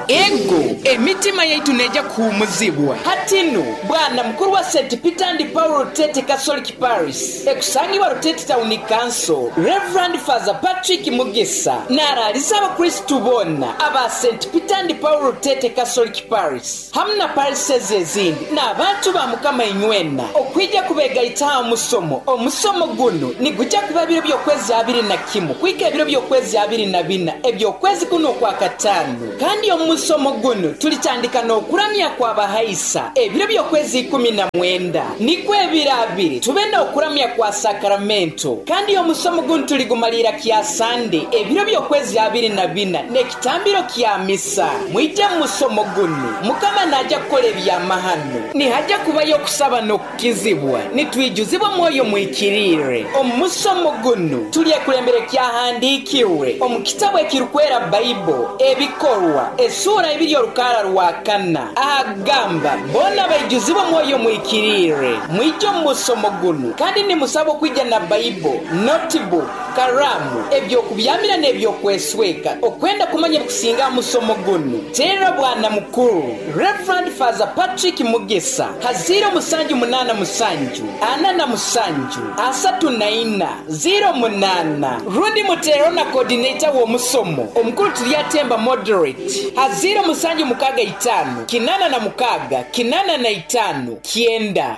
Ego, emitima yaitu neija kuhuumuzibwa. Hati nu, Bwana Mukuru wa St. Peter and Paul Rutete Catholic Parish ekusangibwa Rutete Town Council, Rev. Father Patrick Mugisa naraaliza Abakristu boona aba St. Peter and Paul Rutete Catholic Parish hamu na parishes ezindi n'abantu ba Mukama inywena okwija kubegaita aha musomo. Omusomo gunu nigwija kuba ebiro by'okwezi 21 kuhika ebiro by'okwezi 24 eby'okwezi kunu Okwakataano. Kandi omu musomo gunu tulitandika n'okuramya kw'abahaisa ebiro by'okwezi 19, nikwo ebiro abiri tube n'okuramya kwa Sakaramento. Kandi omusomo gunu tuligumaliira kya Sande ebiro by'okwezi 24 n'ekitambiro kya Misa. Mwije mu musomo gunu, Mukama naija kukora ebyamahano. Nihaja kubayo okusaba n'okukizibwa, nitwijuzibwa Mwoyo Muhikiriire. Omu musomo gunu tulyekulembera ekyahandiikirwe omu kitabu ekirukwera Baibo, Ebikorwa, esuura ibiri orukaara rwa kana, ahagamba, Boona baijuzibwa Mwoyo Muhikiriire. Mwije omu musomo gunu kandi nimusabwa okwija na Baibo, notibuku, karaamu, eby'okubyamira n'eby'okwesweka. Okwenda kumanya ebikusinga aha musomo gunu, teera Bwana Mukuru, Rev. Father Patrick Mugisa ha ziiro musanju munaana musanju, ana na musanju, asatu na ina, ziiro munaana. Rundi muteereho na Coordinator w'omusomo, Omukuru Turyatemba Moderate, ha ziiro musanju mukaaga itaano, kinaana na mukaaga, kinaana na itaano, kyenda.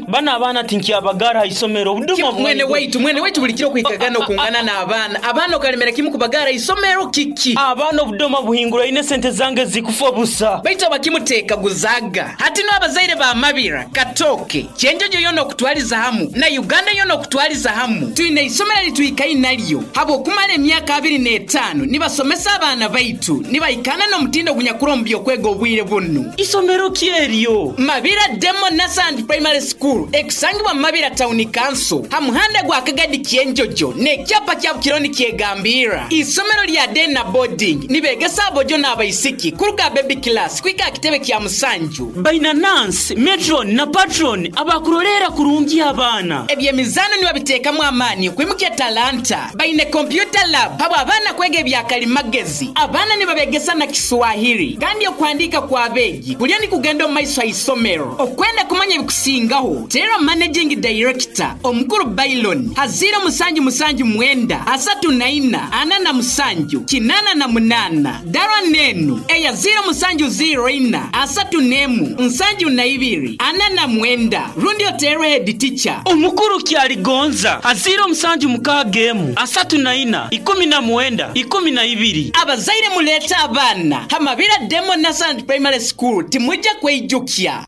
Bano abaana tinkyabagaara ha isomero, obuduma Mwene bwaigwe. waitu, mwene waitu buli kiro okwikaga n'okungana n'abaana. Abaana okalemera kimu kubagaara ha isomero kiki? Abaana obudoma buhinguraine esente zange zikufa busa. Baitu abakimuteekaguzaaga. Hati nu abazaire ba Mabira, Katooke, Kyenjojo yoona okutwaliza hamu na Uganda yoona okutwaliza hamu, twine isomero eritwikaire naryo habw'okumara emyaka 25 nibasomesa abaana baitu nibahikaana n'omutindo ogunyakuri omu by'okwega obwire bunu. Isomero ki eryo? Mabira Demo Nursery and Primary School ekusangibwa mu Mabira Town Council ha muhanda gwa Kagadi Kyenjojo n'ekyapa kya Bukiro nikyegambirra. Isomero lya Day na Boarding nibegesa abojo n'abaisiki kuruga baby class kuhika aha kitebe kya musanju. Baina nurse, matron na patron abakuroleera kurungi abaana. Eby'emizaano nibabiteekamu amaani okwimukya talanta. Baine computer lab habw'abaana kwega ebya kalimagezi. Abaana nibabegesa na Kiswahili kandi okuhandiika kw'abeegi kuriyo nikugenda omu maiso ha isomero. Okwenda kumanya ebikusingaho, teera Managing Director, Omukuru Bailon ha ziiro musanju musanju mwenda 34 47 88. Darwa n'enu eya ziiro musanju ziiro ina 31 72 49 rundi oteerwe headteacher. Omukuru Kyaligonza ha ziiro musanju mukaaga emu 34 19 12. Abazaire muleete abaana ha Mabira Demo Nursery and Primary School timwija kweijukya.